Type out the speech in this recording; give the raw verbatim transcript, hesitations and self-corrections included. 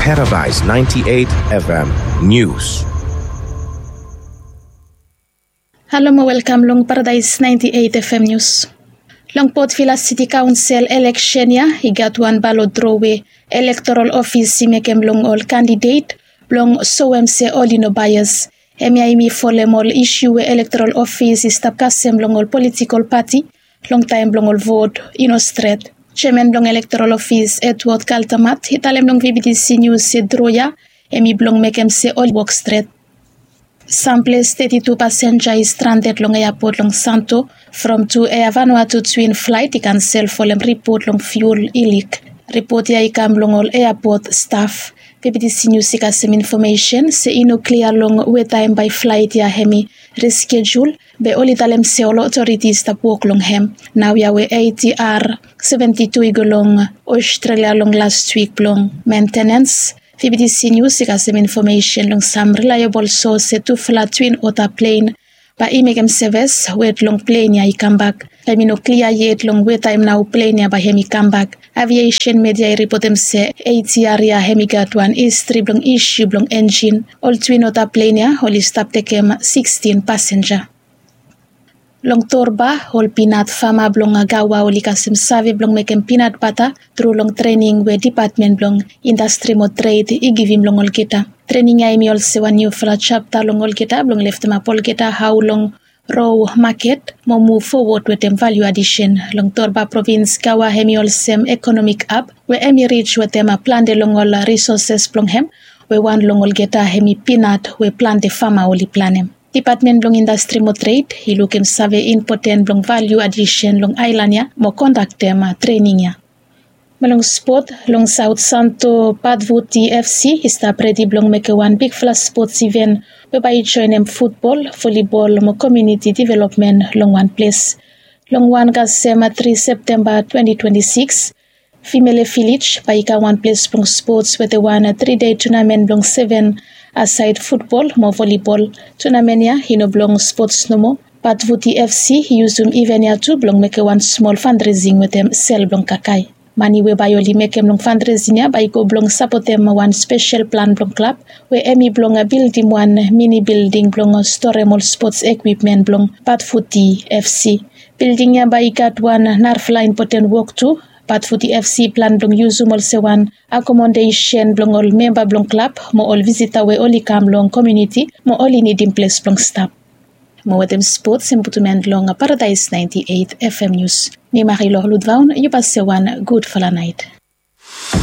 Paradise ninety-eight F M News. Halo mo welkam long Paradise ninety-eight F M News. Long Port Vila City Council eleksen ya i gat wan balot dro we elektoral ofis i mekem long ol kandidet blong soem se oli no baias. Hemia i mi folem ol isiu we elektoral ofis i stap kasem long ol politikol pati long taem blong ol vot i no stret. Jeaman blong elektoral ofis Edward Kaltamat i talem long V B T C News se dro ya hemi blong mekem se oli wok stret. Samples teti tu pasenja i stranded long eapot long Santo from tu Air Vanuatu twin flaet i kansel folem ripot long fiul i lik. Ripot ya i kam long ol eapot staf. V B T C News i kasem infomesen se i no klia long we taem bae flaet ya hemi reskejul be oli talem se ol otoriti i stap wok long hem. Naoia we A T R seventi tu i go long Australia long last wik blong mentenens. V B T C News i kasem infomesen long sam reliable source se tufala twin ota plen bae i mekem seves wet long plen ya i kambak. Hemi no klia yet long we taem nao plen ya bae hemi kambak. Aviesen media i ripotem se A T R ya hemi gat wan histri blong isiu blong enjin. Ol twin ota plen ya oli stap tekem sikstin pasenja. Long Torba, ol pinat fama blong Gaua oli kasem save blong mekem pinat bata tru long trening we Dipatmen blong Indastri mo Tred i givim long olgeta. Trening ya hemi olsem wan niufala japta long olgeta blong leftemap olgeta hao long ro maket mo muv fowod wetem valiu adisen. Long Torba provins, Gaua hemi olsem ekonomik hab we hemi rij wetem plante long ol risoses blong hem, we wan long olgeta hemi pinat we plante fama oli planem. Dipatmen blong Indastri mo Tred i lukim save impoten blong valiu adisen long aelan ya mo kondaktem trening ya. Mo long spot, long Saot Santo, Patvuti F C i stap redi blong mekem wan bigfala spots iven we bae i joenem futbol, volibol mo komuniti developmen long wan ples. Long wan kasem tri Septemba twenti twenti sikis, Fimele Vilej bae i kam wan ples blong spots wetem wan tri dei tunamen blong seven asaed futbol mo volibol. Tunamen ya i no blong spots nomo. Patvuti F C i yusum iven ya tu blong mekem wan smol fandresing wetem sel blong kakae. Mane we bae oli mekem long fandresing ya bae i go blong sapotem wan spesel plan blong klab we hemi blong bildim wan mini bilding blong storem ol spots ekwipmen blong Patvuti F C. Bilding ya bae i gat wan narafala impoten wok tu. Patvuti F C i plan blong yusum olsem wan akomodesen blong ol memba blong klab mo ol visita we oli kam long komuniti mo oli nidim ples blong stap. Mo wetem spots hem putum en long Paradise ninety-eight F M News. Mi Marie Lorludvaun, yu basa wan gudfala naet.